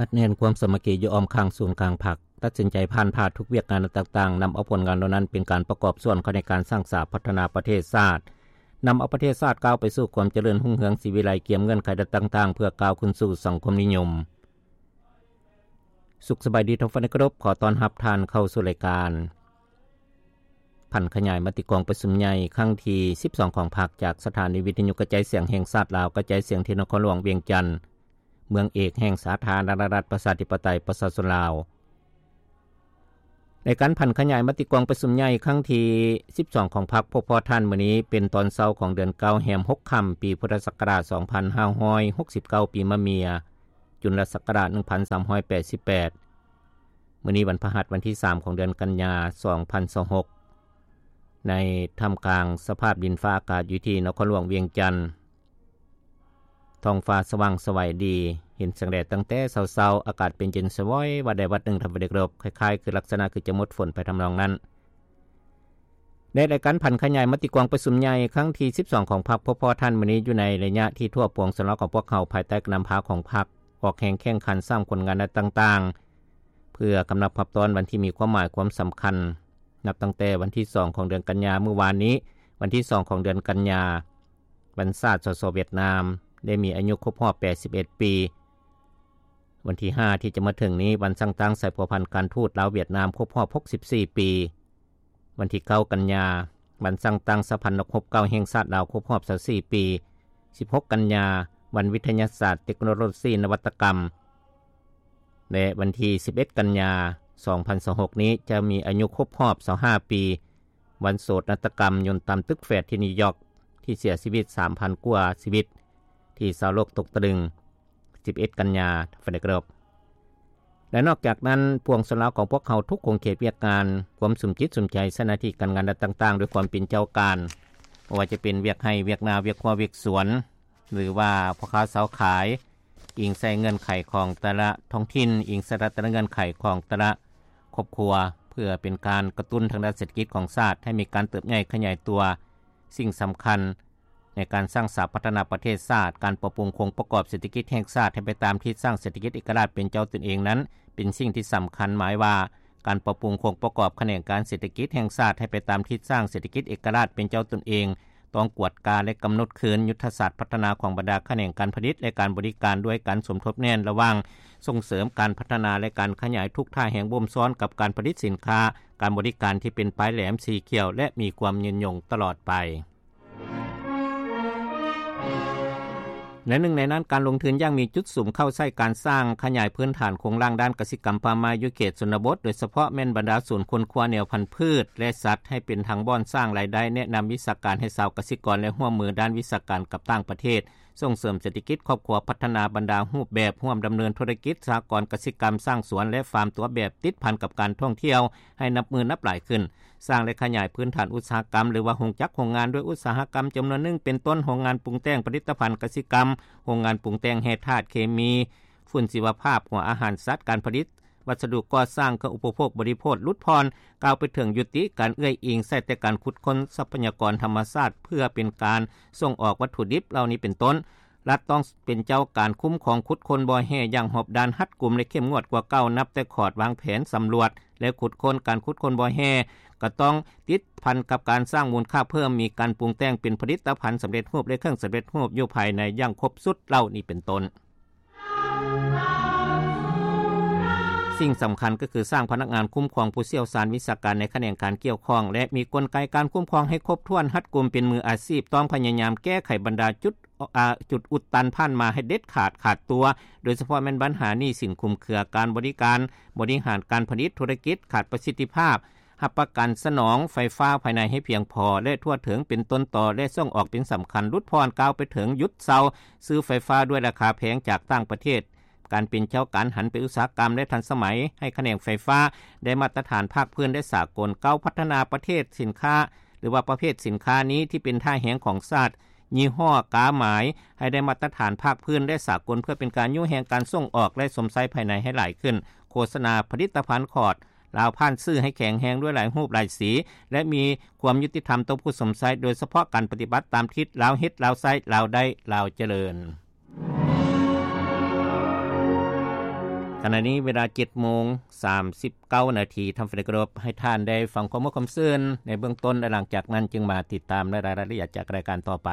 ອັດແໜ້ນຄວາມສາມັກຄີຢູ່ອ້ອມຂ້າງສູນກາງພັກ, ຕັດສິນໃຈຜ່ານຜ່າທຸກວຽກງານຕ່າງໆ, ນຳເອົາຜົນງານເຫຼົ່ານັ້ນເປັນການປະກອບສ່ວນເຂົ້າໃນການສ້າງສາພັດທະນາປະເທດຊາດ, ນຳເອົາປະເທດຊາດກ້າວໄປສູ່ຄວາມຈະເລີນຮຸ່ງເຮືອງສີວິໄລ, ກຽມເງື່ອນໄຂຕ່າງໆ ເພື່ອກ້າວຂຶ້ນສູ່ສັງຄົມນິຍົມ. ສຸກສະບາຍດີທ່ານຜູ້ຟັງທີ່ເຄົາລົບ, ຂໍຕ້ອນຮັບທ່ານເຂົ້າສູ່ລາຍການຜັນຂະຫຍາຍມະຕິກອງປະຊຸມໃຫຍ່ຄັ້ງທີສິບສອງຂອງພັກ ຈາກສະຖານີວິທະຍຸກະຈາຍສຽງແຫ່ງຊາດລາວ, ກະຈາຍສຽງທີ່ນະຄອນຫຼວງວຽງຈັນ, ເມືອງເອກແຫ່ງສາທາລະນະລັດປະຊາທິປະໄຕປະຊາຊົນລາວ. ໃນການຜັນຂະຫຍາຍມະຕິກອງປະຊຸມໃຫຍ່ຄັ້ງທີສິບສອງຂອງພັກ ພົບພໍ້ທ່ານມື້ນີ້ເປັນຕອນເຊົ້າຂອງເດືອນເກົ້າ ແຮມຫົກຄ່ຳ ປີພຸດທະສັກກະລາດສອງພັນຫ້າຮ້ອຍຫົກສິບເກົ້າ ປີມະເມຍ ຈຸນລະສັກກະລາດໜຶ່ງພັນສາມຮ້ອຍແປດສິບແປດ. ມື້ນີ້ວັນພະຫັດ ວັນທີສາມຂອງເດືອນກັນຍາ ສອງພັນຊາວຫົກ ໃນທ່າມກາງສະພາບດິນຟ້າອາກາດຢູ່ທີ່ນະຄອນຫຼວງວຽງຈັນ, ທ້ອງຟ້າສະຫວ່າງສະໄຫວດີ, ເຫັນແສງແດດຕັ້ງແຕ່ເຊົ້າໆ, ອາກາດເປັນເຢັນສະຫວອຍວັດໃດວັດໜຶ່ງ ທ່ານຜູ້ຟັງທີ່ເຄົາລົບ, ຄ້າຍໆຄືລັກສະນະຄືຈະໝົດຝົນໄປທຳນອງນັ້ນ. ໃນລາຍການຜັນຂະຫຍາຍມະຕິກອງປະຊຸມໃຫຍ່ຄັ້ງທີສິບສອງຂອງພັກ ພົບພໍ້ທ່ານມື້ນີ້ ຢູ່ໃນໄລຍະທີ່ທົ່ວປວງຊົນລາວຂອງພວກເຮົາ ພາຍໃຕ້ການນຳພາຂອງພັກ ອອກແຮງແຂ່ງຂັນສ້າງຜົນງານດ້ານຕ່າງໆ ເພື່ອກຳລັບຮັບຕ້ອນວັນທີ່ມີຄວາມໝາຍຄວາມສຳຄັນ ນັບຕັ້ງແຕ່ວັນທີສອງຂອງເດືອນກັນຍາ ມື້ວານນີ້, ວັນທີສອງຂອງເດືອນກັນຍາ, ວັນຊາດ ສສ ຫວຽດນາມ ໄດ້ມີອາຍຸຄົບຮອບແປດສິບເອັດປີ. ວັນທີຫ້າທີ່ຈະມາເຖິງນີ້, ວັນສ້າງຕັ້ງສາຍພົວພັນການທູດລາວ-ຫວຽດນາມ ຄົບຮອບຫົກສິບສີ່ປີ. ວັນທີເກົ້າກັນຍາ, ວັນສ້າງຕັ້ງສະຫະພັນນັກຮົບເກົ່າແຫ່ງຊາດລາວ ຄົບຮອບຊາວສີ່ປີ. ສິບຫົກກັນຍາ, ວັນວິທະຍາສາດ, ເຕັກໂນໂລຊີ, ນະວັດຕະກຳ ແລະ ວັນທີສິບເອັດກັນຍາ ສອງພັນຊາວຫົກນີ້ ຈະມີອາຍຸຄົບຮອບຊາວຫ້າປີ ວັນໂສດນາດຕະກຳຍົນຕຳຕຶກແຟດທີ່ນິວຢອກ ທີ່ເສຍຊີວິດສາມພັນກວ່າຊີວິດ ທີ່ຊາວໂລກຕົກຕະລຶງ ສິບເອັດກັນຍາ ທ່ານຜູ້ຟັງທີ່ເຄົາລົບ. ແລະ ນອກຈາກນັ້ນ, ປວງຊົນລາວຂອງພວກເຮົາທຸກຂົງເຂດວຽກງານ ຄວາມສຸມຈິດສຸມໃຈໃສ່ໜ້າທີ່ການງານດ້ານຕ່າງໆ ດ້ວຍຄວາມເປັນເຈົ້າການ, ບໍ່ວ່າຈະເປັນວຽກໄຮ່, ວຽກນາ, ວຽກຮົ້ວ, ວຽກສວນ ຫຼືວ່າພໍ່ຄ້າຊາວຂາຍ, ອີງໃສ່ເງື່ອນໄຂຂອງແຕ່ລະທ້ອງຖິ່ນ, ອີງໃສ່ແຕ່ລະເງື່ອນໄຂຂອງແຕ່ລະຄອບຄົວ ເພື່ອເປັນການກະຕຸ້ນທາງດ້ານເສດຖະກິດຂອງຊາດ ໃຫ້ມີການເຕີບໃຫຍ່ຂະຫຍາຍຕົວ. ສິ່ງສຳຄັນໃນການສ້າງສາພັດທະນາປະເທດຊາດ, ການປັບປຸງໂຄງປະກອບເສດຖະກິດແຫ່ງຊາດໃຫ້ໄປຕາມທິດ, ສ້າງເສດຖະກິດເອກະລາດເປັນເຈົ້າຕົນເອງນັ້ນ ເປັນສິ່ງທີ່ສຳຄັນ. ໝາຍວ່າ ການປັບປຸງໂຄງປະກອບຂະແໜງການເສດຖະກິດແຫ່ງຊາດໃຫ້ໄປຕາມທິດ, ສ້າງເສດຖະກິດເອກະລາດເປັນເຈົ້າຕົນເອງ, ຕ້ອງກວດກາ ແລະ ກຳນົດຄືນຍຸດທະສາດພັດທະນາຂອງບັນດາຂະແໜງການຜະລິດ ແລະ ການບໍລິການ ດ້ວຍການສົມທົບແໜ້ນລະຫວ່າງສົ່ງເສີມການພັດທະນາ ແລະ ການຂະຫຍາຍທຸກທ່າແຫ່ງບົ່ມຊ້ອນກັບການຜະລິດສິນຄ້າ, ການບໍລິການທີ່ເປັນປາຍແຫຼມ, ສີຂຽວ ແລະ ມີຄວາມຍືນຍົງຕະຫຼອດໄປ. ແລະ ໜຶ່ງໃນນັ້ນ, ການລົງທຶນຢ່າງມີຈຸດສຸມເຂົ້າໃຊ້ການສ້າງຂະຫຍາຍພື້ນຖານໂຄງລ່າງດ້ານກະສິກຳປ່າໄມ້ຢູ່ເຂດຊົນນະບົດ, ໂດຍສະເພາະແມ່ນບັນດາສູນຄົ້ນຄວ້າແນວພັນພືດ ແລະ ສັດ ໃຫ້ເປັນທັງບ່ອນສ້າງລາຍໄດ້, ແນະນຳວິຊາການໃຫ້ຊາວກະສິກອນ ແລະ ຮ່ວມມືດ້ານວິຊາການກັບຕ່າງປະເທດ, ສົ່ງເສີມເສດຖະກິດຄອບຄົວ, ພັດທະນາບັນດາຮູບແບບຮ່ວມດຳເນີນທຸລະກິດສະຫະກອນກະສິກຳ, ສ້າງສວນ ແລະ ຟາມຕົວແບບ, ຕິດພັນກັບການທ່ອງທ່ຽວໃຫ້ນັບມື້ນັບຫຼາຍຂຶ້ນ, ສ້າງ ແລະ ຂະຫຍາຍພື້ນຖານອຸດສາຫະກຳ ຫຼືວ່າໂຮງຈັກໂຮງງານດ້ວຍອຸດສາຫະກຳຈຳນວນໜຶ່ງ ເປັນຕົ້ນ ໂຮງງານປຸງແຕ່ງຜະລິດຕະພັນກະສິກຳ, ໂຮງງານປຸງແຕ່ງແຮ່ທາດເຄມີ, ຝຸ່ນຊີວະພາບ, ຫົວອາຫານສັດ, ການຜະລິດວັດສະດຸກໍ່ສ້າງ, ເຄື່ອງອຸປະໂພກບໍລິໂພກ, ຫຼຸດຜ່ອນ, ກ່າວໄປເຖິງຍຸຕິການເອື້ອຍອີງໃສ່ແຕ່ການຂຸດຄົ້ນຊັບພະຍາກອນທຳມະຊາດ ເພື່ອເປັນການສົ່ງອອກວັດຖຸດິບເຫຼົ່ານີ້ເປັນຕົ້ນ. ລັດຕ້ອງເປັນເຈົ້າການຄຸ້ມຄອງຂຸດຄົ້ນບໍ່ແຮ່ຢ່າງຮອບດ້ານ, ຮັດກຸມ ແລະ ເຂັ້ມງວດກວ່າເກົ່າ, ນັບແຕ່ຂອດວາງແຜນສຳຫຼວດ ແລະ ຂຸດຄົ້ນ. ການຂຸດຄົ້ນບໍ່ແຮ່ກໍຕ້ອງຕິດພັນກັບການສ້າງມູນຄ່າເພີ່ມ, ມີການປຸງແຕ່ງເປັນຜະລິດຕະພັນສຳເລັດຮູບ ແລະ ເຄື່ອງສຳເລັດຮູບຢູ່ພາຍໃນຢ່າງຄົບຊຸດເຫຼົ່ານີ້ເປັນຕົ້ນ. ສິ່ງສຳຄັນກໍຄືສ້າງພະນັກງານຄຸ້ມຄອງຜູ້ຊ່ຽວຊານວິຊາການໃນຂະແໜງການກ່ຽວຂ້ອງ ແລະ ມີກົນໄກການຄຸ້ມຄອງໃຫ້ຄົບຖ້ວນ, ຮັດກຸມ, ເປັນມືອາຊີບ, ຕ້ອງພະຍາຍາມແກ້ໄຂບັນດາຈຸດ ອາ ຈຸດອຸດຕັນຜ່ານມາໃຫ້ເດັດຂາດຂາດຕົວ, ໂດຍສະເພາະແມ່ນບັນຫາໜີ້ສິນຄຸມເຄືອ, ການບໍລິການ, ບໍລິຫານການຜະລິດ, ທຸລະກິດຂາດປະສິດທິພາບ, ຮັບປະກັນສະໜອງໄຟຟ້າພາຍໃນໃຫ້ພຽງພໍ ແລະ ທົ່ວເຖິງເປັນຕົ້ນຕໍ ແລະ ສົ່ງອອກເປັນສຳຄັນ, ຫຼຸດຜ່ອນ, ກ່າວໄປເຖິງຢຸດເຊົາຊື້ໄຟຟ້າດ້ວຍລາຄາແພງຈາກຕ່າງປະເທດ, ການເປັນເຈົ້າການຫັນໄປອຸດສາຫະກຳ ແລະ ທັນສະໄໝໃຫ້ຂະແໜງໄຟຟ້າໄດ້ມາດຕະຖານພາກພື້ນ ແລະ ສາກົນ, ເກົ້າ ພັດທະນາປະເທດສິນຄ້າ ຫຼືວ່າປະເພດສິນຄ້ານີ້ທີ່ເປັນທ່າແຮງຂອງຊາດ, ຍີ່ຫໍ້, ກາໝາຍ ໃຫ້ໄດ້ມາດຕະຖານພາກພື້ນ ແລະ ສາກົນ ເພື່ອເປັນການຍູ້ແຮງການສົ່ງອອກ ແລະ ຊົມໃຊ້ພາຍໃນໃຫ້ຫຼາຍຂຶ້ນ, ໂຄສະນາຜະລິດຕະພັນຂອດລາວຜ່ານສື່ໃຫ້ແຂງແຮງດ້ວຍຫຼາຍຮູບຫຼາຍສີ ແລະ ມີຄວາມຍຸຕິທຳຕໍ່ຜູ້ຊົມໃຊ້, ໂດຍສະເພາະການປະຕິບັດຕາມທິດ ລາວເຮັດ, ລາວໃຊ້, ລາວໄດ້, ລາວຈະເລີນ. ຂະນະນີ້ເວລາ ເຈັດໂມງ ສາມສິບເກົ້ານາທີ ທ່ານຜູ້ໃດເຄົາລົບ ໃຫ້ທ່ານໄດ້ຟັງຄວາມມ່ວນຄວາມຊື່ນໃນເບື້ອງຕົ້ນ ແລະ ຫຼັງຈາກນັ້ນຈຶ່ງມາຕິດຕາມລາຍລະອຽດຈາກລາຍການຕໍ່ໄປ.